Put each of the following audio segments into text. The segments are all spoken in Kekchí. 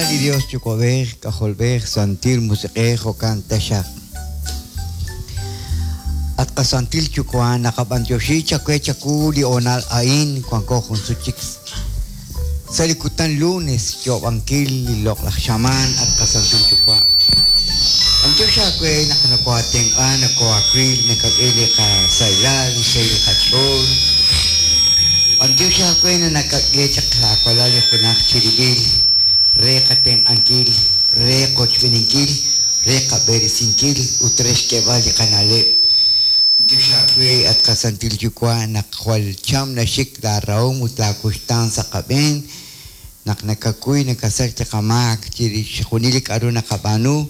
Li Dios Yuwa'b'ej, K'ajolb'ej, Santil Musiq'ej, jo'kan taxaq. At qasantil Yuwa', naqab'antioxi chawe chawu li hoonal a'in wanko jun sut chik sa' li kutan lunes xyoob'ankil li loq'laj xamaan at qasantil Yuwa'. B'antiox aawe naq nokooatenq'a, nokooawil, nakak'e li qasahilal, li xsahil li qach'ool. B'antiox aawe naq nakak'e chaq laawalal li junaj chirib'il re qatenq'ankil, re qochb'eeninkil, re qab'eresinkil ut re xk'eeb'al li qana'leb'. B'antiox aawe at qasantil Yuwa' naq jwal cham naxik laarahom ut laakuxtaan sa' qab'een, naq nakakuy nakasach li qamaak chirix chixjunil li k'a'ru naqab'aanu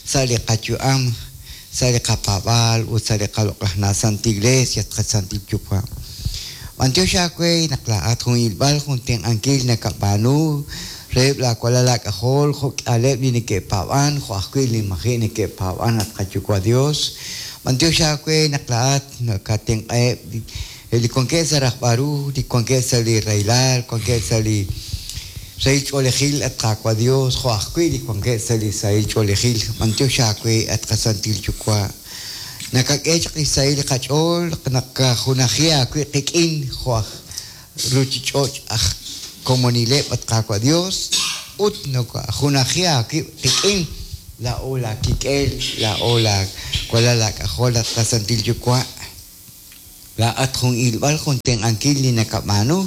sa' li qayu'am, sa' li qapaab'aal ut sa' li qaloq'laj na' Santa Iglesia at qasantil Yuwa'. B'antiox aawe naq laa'at jun ilb'al jun tenq'ankil nakab'aanu reheb' laawalal laak'ajol jo' k'ihaleb' li neke'paab'an jo' ajwi' li maji' neke'paab'an at qaYuwa' Dios. B'antiox aawe naq laa'at nakatenq'aheb' li wankeb' sa' rajb'al ru, li wankeb' sa' li rahilal, wankeb' sa' li sahil ch'oolejil at Qaawa' Dios, jo' ajwi' li wankeb' sa' li sahil ch'oolejil. B'antiox aawe at qasantil Yuwa'. Nakak'e chaq li xsahil li qach'ool nakajunaji aawib' qik'in jo' aj ruuchich'och' aj komonileb' at Qaawa' Dios ut nakajunaji aawib' qik'in laa'o laakik'el, laa'o laawalal laak'ajol at qasantil Yuwa'. Laa'at jun ilb'al jun tenq'ankil li nakab'aanu,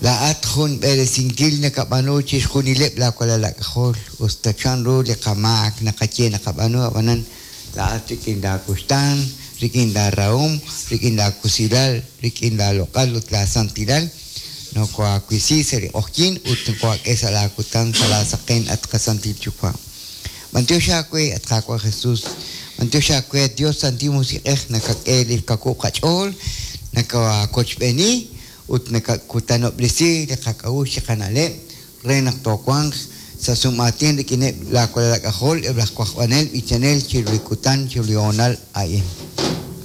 laa'at jun b'eresinkil nakab'aanu chixjunileb' laawalal laak'ajol, usta chanru li qamaak naqaye naqab'aanu, ab'anan laa'at rik'in laakuxtaan, rik'in laarahom, rik'in laakusilal, rik'in laaloq'al ut laasantilal, nokoaawisi sa' li q'oqyink ut nokoaak'e sa' laakutan sa' laasaqen at qasantil Yuwa'. B'antiox aawe at Qaawa' Jesus, b'antiox aawe at Dios Santil Musiq'ej nakak'e li xkawub' qach'ool, nakaawochb'eeni ut nakakutanob'resi li qak'a'uxl chi qana'leb' re naq toowanq sa' sum'aatin rik'ineb' laawalal laak'ajol eb' laj wajb'anel b'ichanel chiru li kutan chiru li hoonal a'in.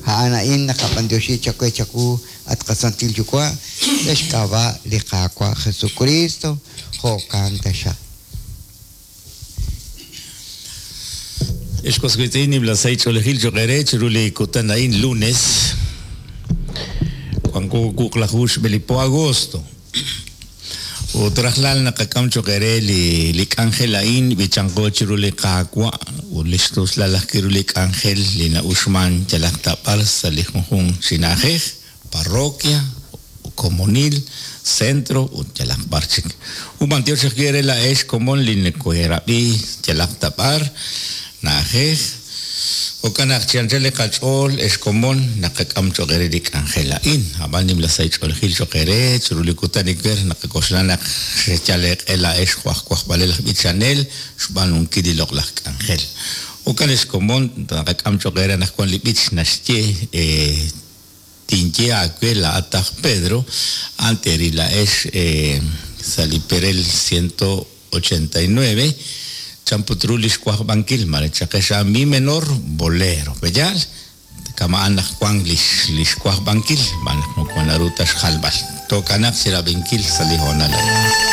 A'an a'in naqab'antioxi chawe chawu at qasantil Yuwa' sa' xk'ab'a' li Qaawa' Jesucristo, jo'kan taxaq. Ex was wiitz'in, nimla sahil ch'oolejil cho'q eere chiru li kutan a'in lunes, wanko wuqlaju xb'e li po agosto. Ut rajlal naqak'am cho'q eere li li k'anjel a'in b'ichanqo chiru li Qaawa' ut li xtuslal ajwi' ru li k'anjel li na'uxman yalaq ta b'ar sa' li junjunq chi na'ajej, parroquia, komonil, centro ut yalaq b'ar chik. Ut b'antiox ajwi' eere laa'ex komon li nekeerab'i yalaq ta b'ar, na'ajej. Jo'kan naq chi anchal li qach'ool, ex komon, naqak'am cho'q eere li k'anjel a'in. Ab'an nimla sahil ch'oolejil cho'q eere chiru li kutan ewer naqak'oxla naq xeyal eeq'e laa'ex jo' aj wajb'alel aj b'ichanel xb'aanunkil li loq'laj k'anjel. Jo'kan ex komon, naqak'am cho'q eere anaqwan li b'ich naxye Tinye aawe laa'at aj Pedro, a'an teeril laa'ex sa' li perel 189, chan put ru li xwajb'ankil, mare chaqex a mi menor bolero. Pe'yaal? Kama'an naq wank li xwajb'ankil, xb'aan naq moko naru ta xjalb'al. Tookanaq chi rab'inkil sa' li hoonal a'in.